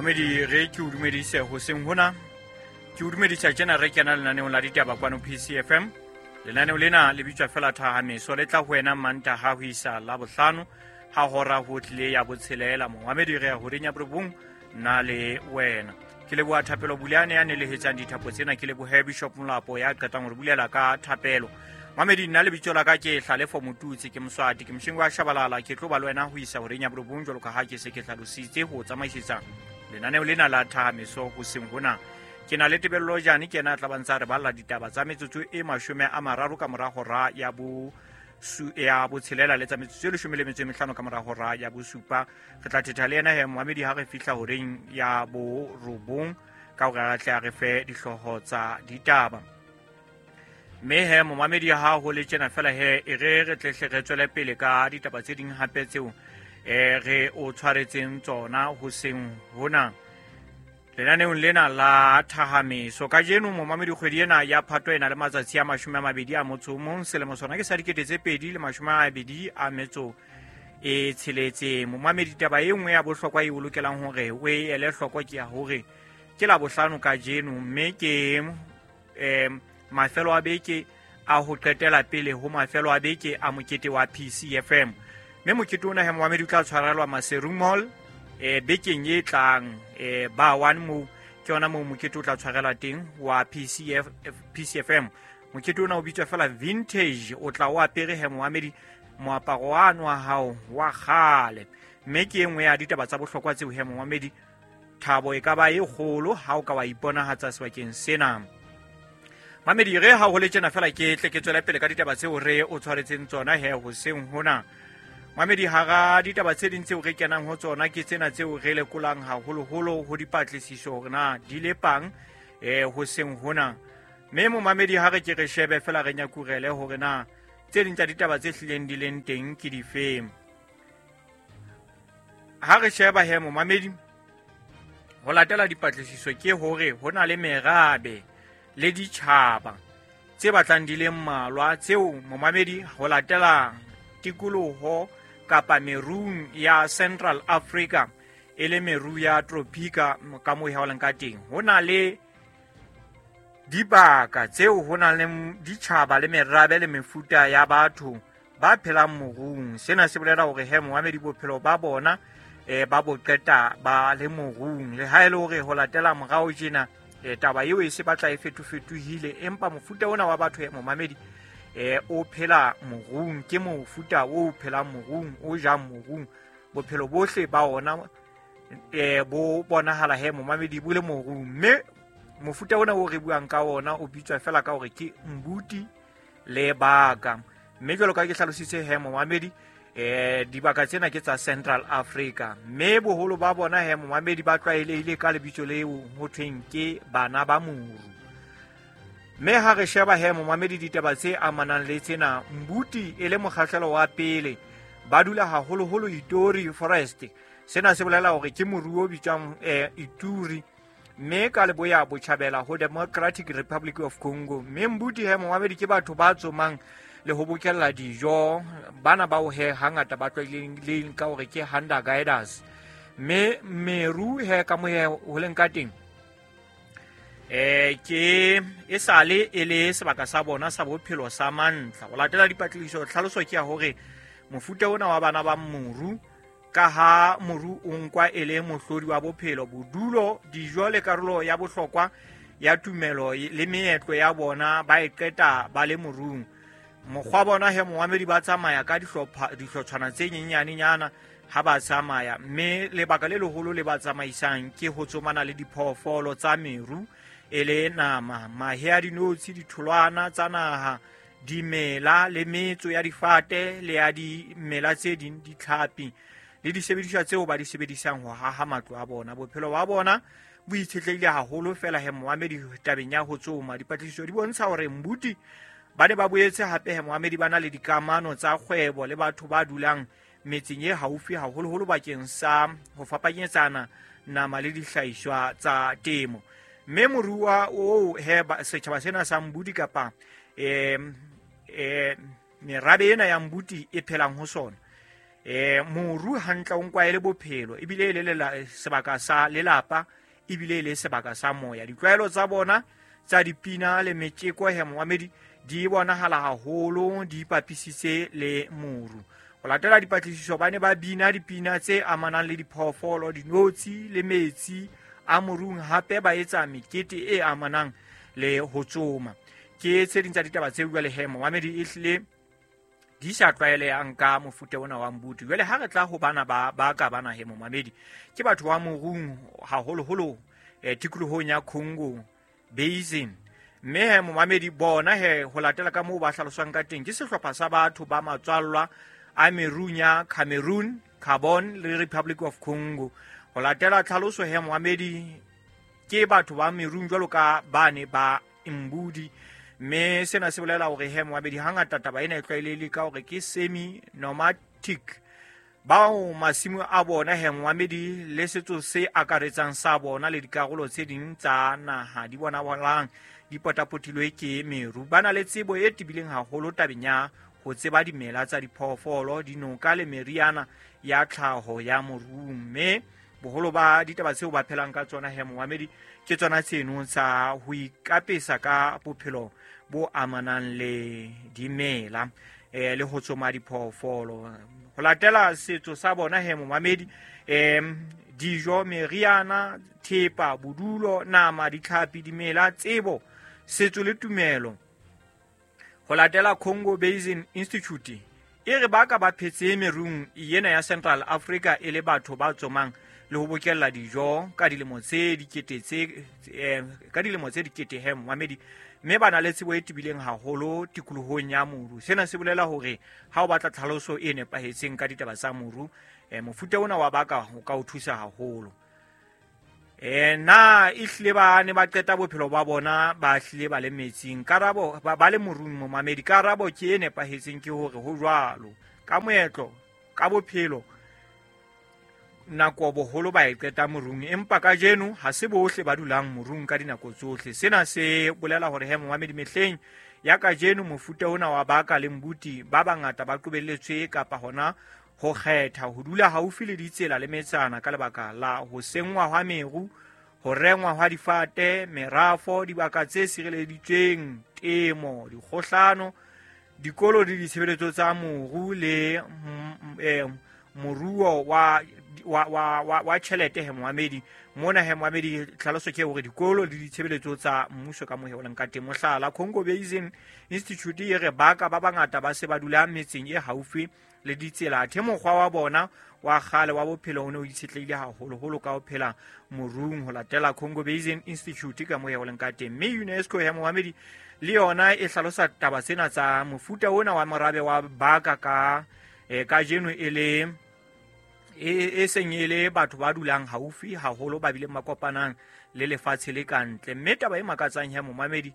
Mamedi, re ke o dumedise hoseng hona. Ke o dumedisa tjena re kena lenaneong la ditaba kwano PCFM. Lenaneo lena le bitswa fela Thahameso, le tla ho wena Mantaha ho isa Labohlano ha hora ho tlile ya botshelela. Momamedi, re ya horeng ya borobong nna le wena. Ke leboha Thapelo Buleane ya nelehetsang dithapo tsena, ke lebohe Bishop Molapo ya qetang hore bulela ka thapelo. Mamedi, nna lebitso la ka ke Hlalefo Motutsi, ke Moswati, ke Moshingo wa Shabalala. Ke tlo ba le wena ho isa horeng ya borobong jwalo ka ha ke se ke hlalositse ho tsamaisetsa lenaneo lena la Thahameso hoseng hona. Ke na le Tebello Jane, ke ena a tla ba ntse a re balla ditaba tsa metsotso e 30 ka mora hora ya bo ya botshelela le tsa metsotso e 15 ka mora hora ya bosupa. Re tla thetha le ena he moamedi ha re fihla horeng ya borobong ka hore a tle a re fe dihlooho tsa ditaba. Mme he momamedi, ha ho le tjena fela he e re re tlehle re tswele pele ka ditaba tse ding hape tseo re o tshwaretseng tsona hoseng hona lenaneong lena la Thahameso. Kajeno momamedi, kgwedi ena ya Phato e na le matsatsi a 21, selemo sona ke sa 2026. Momamedi, taba e nngwe ya bohlokwa e o lokelang hore o e ele hloko ke ya hore ke Labohlano kajeno, mme ke mafelo a beke a ho qetela pele ho mafelo a beke a mokete wa PCFM. Mme mokete ona he momamedi o tla tshwarelwa Maseru Mall bekeng e tlang, ba one moo ke yona moo mokete o tla tshwarelwa teng wa PCF, PCFM. Mokete ona o bitswa fela Vintage. O tla o apere he momamedi moaparo wano wa hao wa kgale, mme ke e nngwe ya ditaba tsa bohlokwa tseo he momamedi. Thabo e ka ba e kgolo ha o ka wa iponahatsa sebakeng sena. Mamedi, re ha ho le tjena fela ke tle ke tswele pele ka ditaba tseo re o tshwaretseng tsona he hoseng hona. Mamedi, hara ditaba tse ding tseo re kenang ho tsona ke tsena tseo re lekolang haholoholo ho dipatlisiso hore na di lepang hoseng hona. Mme momamedi, ha re ke re shebe fela re nyakurele hore na tse ding tsa ditaba tse hlileng di leng teng ke difeng. Ha re sheba he momamedi, ho latela dipatlisiso ke hore ho na le merabe le ditjhaba tse batlang di le mmalwa tseo momamedi ho latela tikoloho kapa merung ya Central Africa, e le meru ya tropika ka moo e haolang ka teng. Ho na le dibaka tseo ho nang le ditjhaba le merabe le mefuta ya batho ba phelang morung. Sena se bolela hore he momamedi, bophelo ba bona ba bo qeta ba le morung. Le ha e le hore ho latela morao tjena taba eo e se batla e fetofetohile, empa mofuta ona wa batho momamedi o phela morung, ke mofuta o phelang morung, o jang morung. Bophelo bohle ba ona bo bonahala he momamedi bo le morung. Mme mofuta ona o re buang ka ona o bitswa fela ka hore ke Mbuti le Baka. Mme jwalo ka ke hlalositse he momamedi, dibaka tsena ke tsa Central Africa, mme boholo ba bona he momamedi ba tlwaelehile ka lebitso leo ho thweng ke bana ba moru. Mme ha re sheba he momamedi ditaba tse amanang le tsena, Mbuti e le mokgahlelo wa pele, ba dula haholoholo Ituri Forest. Sena se bolela hore ke moruo o bitswang Ituri, mme ka leboya botjhabela ho Democratic Republic of Congo. Mme Mbuti he momamedi ke batho ba tsomang le ho bokella dijo. Bana bao he hangata ba tlwaelehileng ka hore ke hunter guiders. Mme meru he ka mo he ho leng ka teng, ke e sale e le sebaka sa bona sa bophelo sa mantla. Ho latela dipatlisiso, tlhaloso ke ya hore mofuta ona wa bana ba moru, ka ha moru o nkwa e le mohlodi wa bophelo, bodulo, dijo le karolo ya bohlokwa ya tumelo le meetlo ya bona, ba e qeta ba le morung. Mokgwa bona he momamedi, ba tsamaya ka dihlotshwana tse nyenyanenyana ha ba tsamaya, mme lebaka le leholo le ba tsamaisang ke ho tsomana le diphoofolo tsa meru, e le nama, mahe a dinotshi, ditholwana tsa naha, dimela le metso ya difate le ya dimela tse ding, ditlhapi le disebediswa tseo ba di sebedisang ho haha matlo a bona. Bophelo ba bona bo itshetlehile haholo fela he momamedi tabeng ya ho tsoma. Dipatlisiso di bontsha hore Mbuti ba ne ba boetse hape he momamedi ba na le dikamano tsa kgwebo le batho ba dulang metseng e haufi, haholoholo bakeng sa ho fapanyetsana nama le dihlahiswa tsa temo. Mme moruwa oo he setjhaba sena sa Mbuti kapa merabe ena ya Mbuti e phelang ho sona, Moru hantle o nkwa e le bophelo, ebile e le sebaka sa lelapa, ebile e le sebaka sa moya. Ditlwaelo tsa bona tsa dipina le metjeko he momamedi di bonahala haholo di ipapisitse le moru. Ho latela dipatlisiso ba ne ba bina dipina tse amanang le diphoofolo, dinotshi le metsi a morung, hape ba etsa mekete e amanang le ho tsoma. Ke tse ding tsa ditaba tse jwale he momamedi e hlile di sa tlwaelehang ka mofuta ona wa mbuti. Jwale ha re tla ho bana ba ka bana he momamedi, ke batho ba morung haholoholo tikolohong ya Congo Basin. Mme he momamedi bona he ho latela ka moo ba hlaloswang ka teng, ke sehlopha sa batho ba matswallwa a merung ya Cameroon, Gabon le Republic of Congo. Ho latela tlhaloso he momamedi, ke batho ba merung jwalo ka bane ba Mbudi. Mme sena se bolela hore he momamedi hangata taba ena e tlwaelehile ka hore ke semi nomadic, bao masimo a bona he momamedi le setso se akaretsang sa bona le dikarolo tse ding tsa naha di bonahalang di potapotilwe ke meru. Ba na le tsebo e tebileng haholo tabeng ya ho tseba dimela tsa diphoofolo, dinoka le meriana ya tlhaho ya morung. Mme boholo ba ditaba tseo ba phelang ka tsona he momamedi ke tsona tseno tsa ho ikapesa ka bophelo bo amanang le dimela le ho tsoma diphoofolo. Ho latela setso sa bona he momamedi, dijo, meriana, thepa, bodulo, nama, ditlhapi, dimela, tsebo, setso le tumelo. Ho latela Congo Basin Institute e re ba ka ba phetse merung ena ya Central Africa e le batho ba tsomang le ho bokella dijo ka dilemo tse dikete tse ka dilemo tse dikete he momamedi, mme ba na le tsebo e tebileng haholo tikolohong ya moru. Sena se bolela hore ha o batla tlhaloso e nepahetseng ka ditaba tsa moru, mofuta ona wa baka ho ka o thusa haholo. Na e hlile ba ne ba qeta bophelo ba bona ba hlile ba le metsing? Karabo ba le morung momamedi, karabo ke e nepahetseng ke hore ho jwalo. Ka moetlo, ka bophelo, nako boholo ba e qeta morung, empa kajeno ha se bohle ba dulang morung ka dinako tsohle. Sena se bolela hore he momamedi, mehleng ya kajeno mofuta ona wa baka le mbuti ba bangata ba qobelletswe kapa hona ho kgetha ho dula haufi le ditsela le metsana ka lebaka la ho senngwa hwa meru, ho rengwa hwa difate, merafo, dibaka tse sireleditsweng, temo, dikgohlano, dikolo le ditshebeletso tsa moru le moruo wa tjhelete he momamedi. Mona he momamedi tlhaloso ke hore dikolo le ditshebeletso tsa mmuso ka mohe o leng ka teng. Mohlala, Congo Basin Institute e re baka ba bangata ba se ba dula metseng e haufi le ditsela, athe mokgwa wa bona wa kgale wa bophelo o ne o itshetlehile haholoholo ka ho phela morung, ho latela Congo Basin Institute ka mohe o leng ka teng. Mme UNESCO ya momamedi le yona e hlalosa taba tsena tsa mofuta ona wa morabe wa baka ka kajeno e le e seng e le batho ba dulang haufi haholo ba bileng ba kopanang le lefatshe le kantle. Mme taba e makatsang ya momamedi,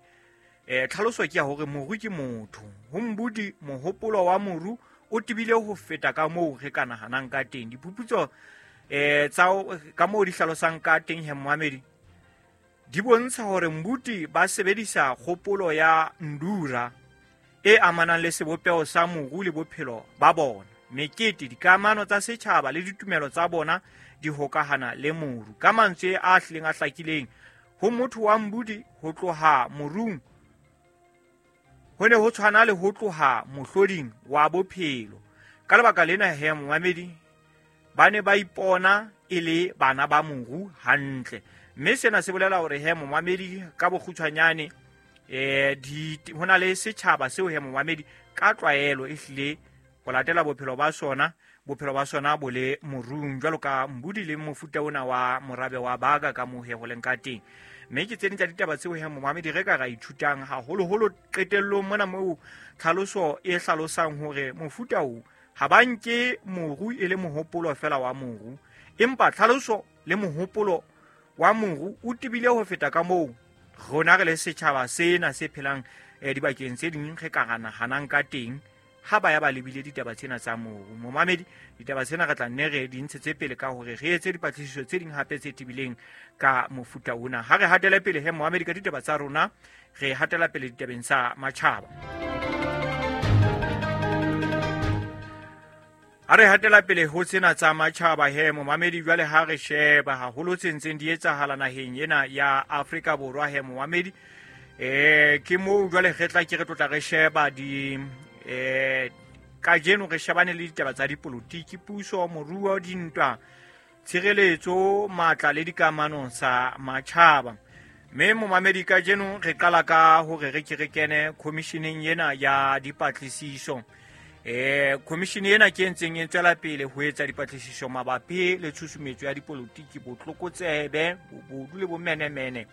tlhaloso ke ya hore moru ke motho. Ho mbudi mohopolo wa moru o tebile ho feta ka moo re ka nahanang ka teng. Diphuputso tsa ka moo di hlalosang ka teng he momamedi di bontsha hore mbuti ba sebedisa kgopolo ya ndura e amanang le sebopeho sa moru le bophelo ba bona. Mekete, dikamano tsa setjhaba le ditumelo tsa bona di hokahana le moru. Ka mantswe a hlileng a hlakileng, ho motho wa mbudi ho tloha morung ho ne ho tshwana le ho tloha mohloding wa bophelo. Ka lebaka lena he momamedi, ba ne ba ipona e le bana ba moru hantle. Mme sena se bolela hore he momamedi ka bokgutshwanyane, ho na le setjhaba seo he momamedi ka tlwaelo e hlile ho latela bophelo ba sona bo le morung, jwalo ka mbudi le mofuta ona wa morabe wa baka ka mohe ho leng ka teng. Mme ke tse ding tsa ditaba tseo he momamedi re ka ra ithutang haholoholo qetellong mona moo tlhaloso e hlalosang hore mofuta o ha ba nke moru e le mohopolo fela wa moru, empa tlhaloso le mohopolo wa moru o tebile ho feta ka moo rona re le setjhaba sena se phelang dibakeng tse ding re ka ra nahanang ka teng ha ba ya ba lebile ditaba tsena tsa moru. Momamedi, ditaba tsena re tla nne re di ntshetse pele ka hore re etse dipatlisiso tse ding hape tse tebileng ka mofuta ona. Ha re hatele pele he momamedi ka ditaba tsa rona, re hatela pele ditabeng tsa matjhaba. Ha re hatela pele ho tsena tsa matjhaba he momamedi, jwale ha re sheba haholo tse ntseng di etsahala naheng ena ya Afrika Borwa he momamedi, ke moo jwale re tla ke re tlotla re sheba di kajeno re shebane le ditaba tsa dipolotiki, puso, moruo, dintwa, tshireletso, matla le dikamano tsa matjhaba. Mme momamedi, kajeno re qala ka hore re ke re kene commissioneng ena ya dipatlisiso. Commission ena ke ntseng e tswela pele ho etsa dipatlisiso mabapi le tshusumetso ya dipolotiki, botlokotsebe, bobodu le bomenemene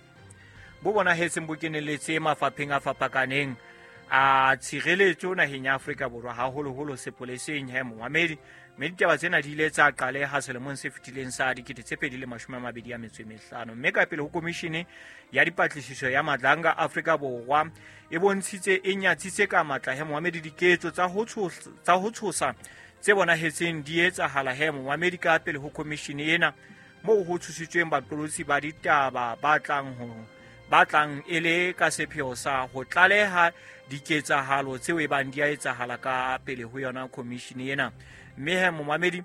bo bonahetseng bo keneletse mafapheng a fapakaneng a tshireletso naheng ya Afrika Borwa, haholoholo sepoleseng he momamedi. Mme ditaba tsena di ile tsa qaleha selemong se fetileng sa 2025, mme ka pele ho komishene ya dipatlisiso ya Madlanga Afrika Borwa e bontshitse e nyatsitse ka matla he momamedi diketso tsa ho tshosa tse bonahetseng di etsahala he momamedi ka pele ho komishene ena, moo ho tshositsweng baqolotsi ba ditaba ba tlang e le ka sepheo sa ho tlaleha diketsahalo tseo e bang di a etsahala ka pele ho yona komishene ena. Mme he momamedi,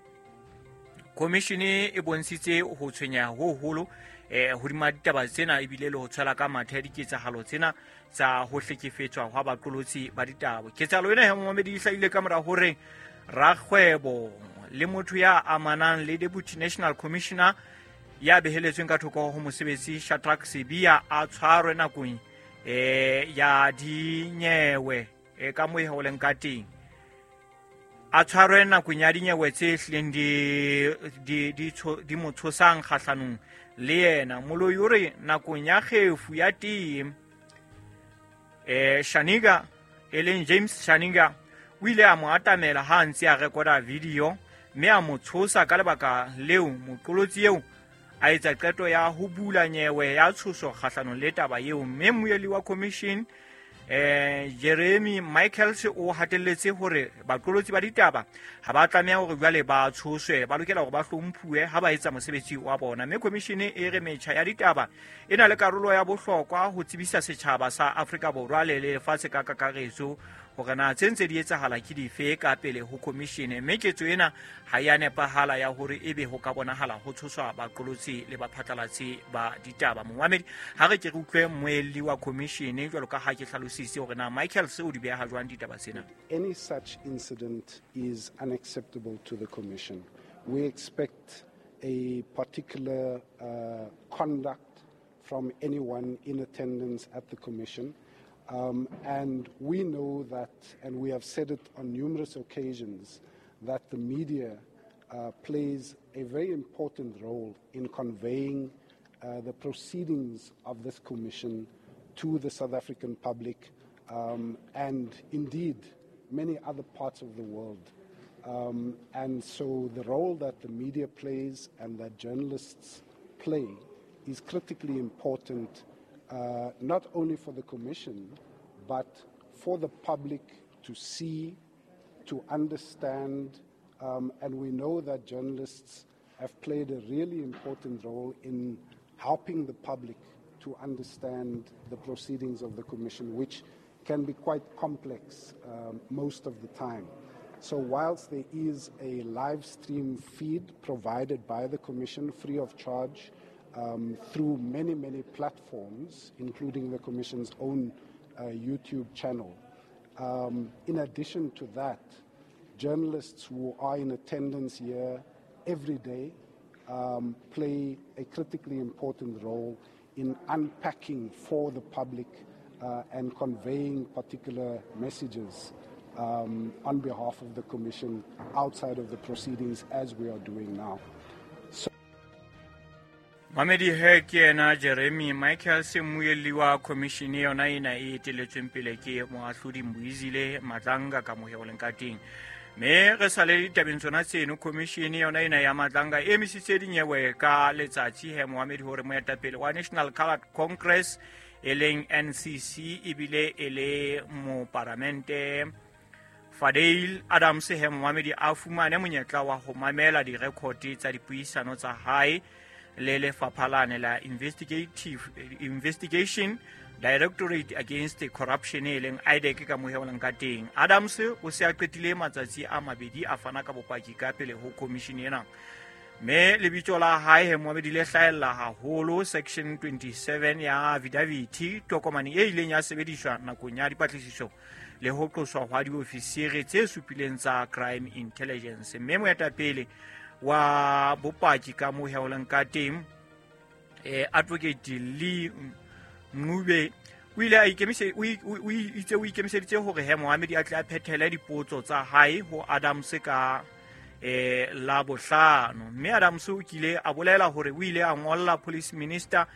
komishene e bontshitse ho tshwenyeha ho hoholo hodima ditaba tsena, ebile le ho tshwela ka mathe diketsahalo tsena tsa ho hlekefetswa hwa baqolotsi ba ditaba. Ketsahalo ena he momamedi e hlahile ka mora hore rakgwebo le motho ya amanang le Deputy National Commissioner ya beheletsweng ka thoko ho mosebetsi Shadrack Sibiya a tshwarwe nakong ya dinyewe ka moo ho leng ka teng. A tshwarwe nakong ya dinyewe tse hlileng di mo tshosang kgahlanong le yena. Moloi o re nakong ya kgefu ya tee, Shaniga e leng James Shaniga o ile a mo atamela ha a ntse a rekoda video mme a mo tshosa. Ka lebaka leo moqolotsi eo a etsa qeto ya ho bula nyewe ya tshoso kgahlanong le taba eo. Mme mmuelli wa commission Jeremy Michaels o hatelletse hore baqolotsi ba ditaba ha ba tlameha hore jwale ba tshoswe, ba lokela hore ba hlomphuwe ha ba etsa mosebetsi wa bona. Mme commission e re metjha ya ditaba e na le karolo ya bohlokwa ho tsebisa setjhaba sa Afrika Borwa le lefatshe ka kakaretso hore na tse ntse di etsahala ke dife ka pele ho commission. Mme ketso ena ha ya nepahala ya hore ebe ho ka bonahala ho tshoswa baqolotsi le baphatlalatsi ba ditaba. Momamedi, ha re ke re utlwe mmuelli wa commission jwalo ka ha ke hlalositse hore na Michael se o di beha jwang ditaba tsena. Any such incident is unacceptable to the commission. We expect a particular conduct from anyone in attendance at the commission. And we know that, and we have said it on numerous occasions, that the media plays a very important role in conveying the proceedings of this commission to the South African public and indeed many other parts of the world. And so the role that the media plays and that journalists play is critically important, not only for the commission, but for the public to see, to understand, and we know that journalists have played a really important role in helping the public to understand the proceedings of the commission, which can be quite complex most of the time. So whilst there is a live stream feed provided by the commission free of charge through many, many platforms, including the commission's own YouTube channel, in addition to that, journalists who are in attendance here every day play a critically important role in unpacking for the public and conveying particular messages on behalf of the Commission outside of the proceedings as we are doing now. Mamedi, he ke yena Jeremy Michael, mmuelli wa commission yona ena e eteletsweng pele ke moahlodi Mbuyisile Madlanga ka mohe o leng ka teng. Mme re sa le ditabeng tsona tseno, commission yona ena ya Madlanga e emisitse dinyewe ka letsatsi he moamedi hore moetapele wa National Coloured Congress e leng NCC ebile e le moparamente Fadil Adams he moamedi a fumane monyetla wa ho mamela direkote tsa dipuisano tsa hae le lefapha lane la Investigation Directorate Against Corruption e leng IDAC ka moheolang ka teng. Adams o se a qetile matsatsi a mabedi a fana ka bopaki ka pele ho commission ena. Mme lebitso la hae he Mohamedi le hlahella haholo section 27 ya affidavit, tokomane e ileng ya sebediswa nakong ya dipatlisiso le ho qoswa hwa diofisiri tse supileng tsa crime intelligence. Mme moetapele wa bopaki ka moheolang ka teng Advocate Lee Ncube o ile a itse o ikemiseditse hore he Mohamedi a tle a phethele dipotso tsa hae ho Adams ka la bohlano. Mme Adams o kile a bolela hore o ile a ngolla police minister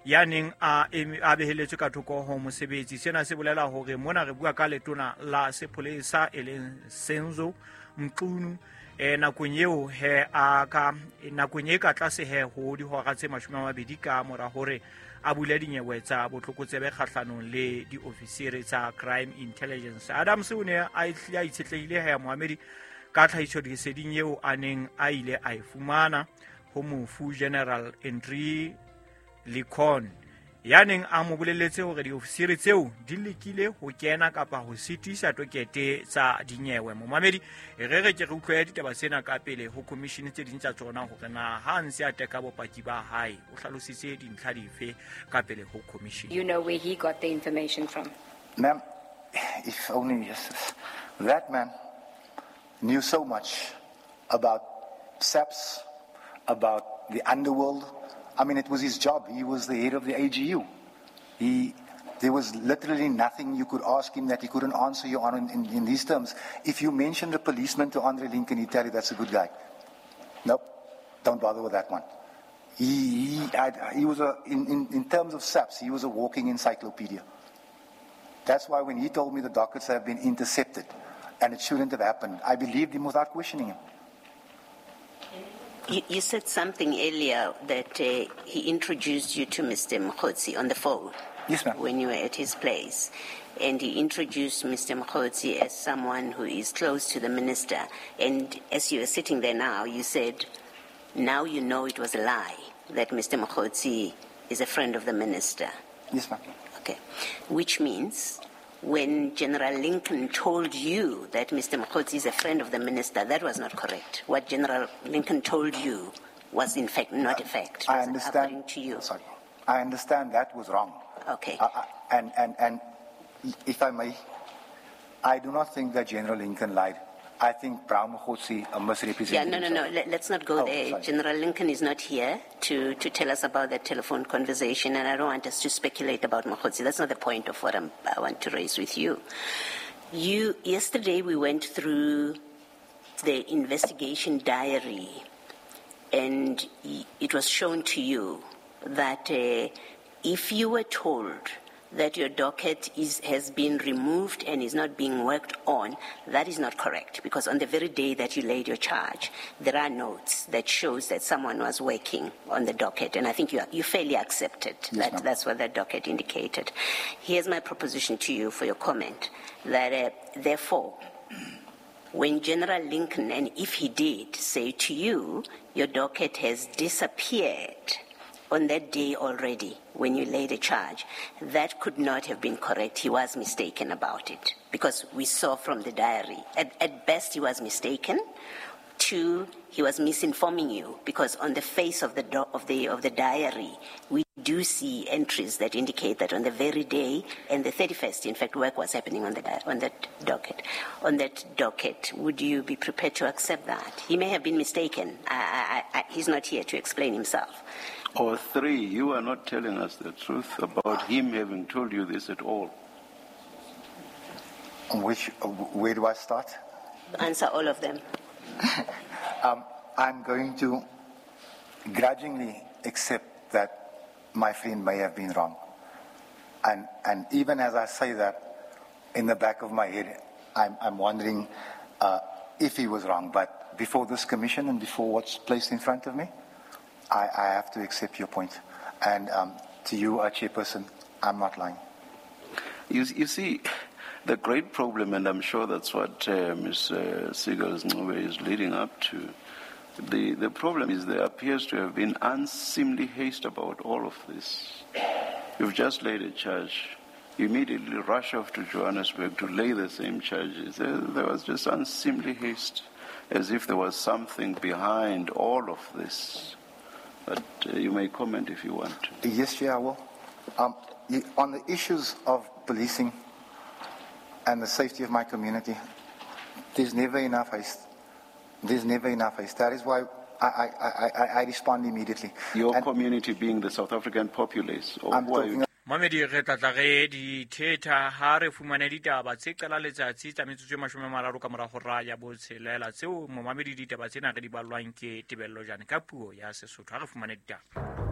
ya neng a beheletswe ka thoko ho mosebetsi. Sena se bolela hore mona re bua ka letona la sepolesa e leng Senzo Mchunu nakong eo he a ka nakong e ka tlase he ho dihora tse 20 ka mora hore a bule dinyewe tsa botlokotsebe kgahlanong le diofisiri tsa crime intelligence. Adams o ne a itshetlehile he Mohamedi ka tlhahisoleseding eo a neng a ile a e fumana ho mofu General Andre Licon ya neng a mo boleletse hore diofisiri tseo di lekile ho kena kapa ho sitisa tokete tsa dinyewe. Momamedi re ke re utlwe ditaba tsena ka pele ho commission tse ding tsa tsona hore na ha ntse a teka bopaki ba hae o hlalositse dintlha dife ka pele ho commission. You know where he got the information from? Ma'am, if only yes, that man knew so much about SAPS, about the underworld. I mean, it was his job. He was the head of the AGU. There was literally nothing you could ask him that he couldn't answer you on in these terms. If you mentioned a policeman to Andre Lincoln, he'd tell you that's a good guy. Nope, don't bother with that one. He was in terms of SAPS, he was a walking encyclopedia. That's why when he told me the dockets have been intercepted and it shouldn't have happened, I believed him without questioning him. You said something earlier that he introduced you to Mr. Mogotsi on the phone. Yes, ma'am. When you were at his place. And he introduced Mr. Mogotsi as someone who is close to the minister. And as you are sitting there now, you said, now you know it was a lie that Mr. Mogotsi is a friend of the minister. Yes, ma'am. Okay. Which means when General Lincoln told you that Mr. Mogotsi is a friend of the minister, that was not correct. What General Lincoln told you was, in fact, not a fact. I understand. According to you. Sorry. I understand that was wrong. Okay. And if I may, I do not think that General Lincoln lied. I think Brown Mogotsi misrepresented. Yeah, no. Let's not go there. Sorry. General Lincoln is not here to tell us about that telephone conversation, and I don't want us to speculate about Mogotsi. That's not the point of what I want to raise with you. Yesterday we went through the investigation diary, and it was shown to you that if you were told that your docket has been removed and is not being worked on, that is not correct, because on the very day that you laid your charge, there are notes that shows that someone was working on the docket, and I think you fairly accepted yes, that that's what that docket indicated. Here's my proposition to you for your comment, that therefore, when General Lincoln, and if he did, say to you, your docket has disappeared on that day already, when you laid a charge, that could not have been correct. He was mistaken about it, because we saw from the diary. At best, he was mistaken. Two, he was misinforming you, because on the face of the diary, we do see entries that indicate that on the very day, and the 31st, in fact, work was happening on that docket. On that docket, would you be prepared to accept that? He may have been mistaken. He's not here to explain himself. Or three, you are not telling us the truth about him having told you this at all. Where do I start? Answer all of them. I'm going to grudgingly accept that my friend may have been wrong. And even as I say that, in the back of my head, I'm wondering if he was wrong. But before this commission and before what's placed in front of me, I have to accept your point. And to you, our chairperson, I'm not lying. You see, the great problem, and I'm sure that's what Ms. Seegers-Ncube is leading up to, The problem is there appears to have been unseemly haste about all of this. You've just laid a charge. You immediately rush off to Johannesburg to lay the same charges. There was just unseemly haste, as if there was something behind all of this. But you may comment if you want to. Yes, Chair, I will. On the issues of policing and the safety of my community, there's never enough haste. There's never enough haste. That is why I respond immediately. Your And community being the South African populace, or I'm who are you? talking Mamedi, re tla tla re di thetha ha re fumane ditaba tse qala letsatsi tsa metsotso e 30 ka mora hora ya botshelela, tseo momamedi ditaba tsena re di ballwang ke Tebello Jane ka puo ya Sesotho. Ha re fumane ditaba.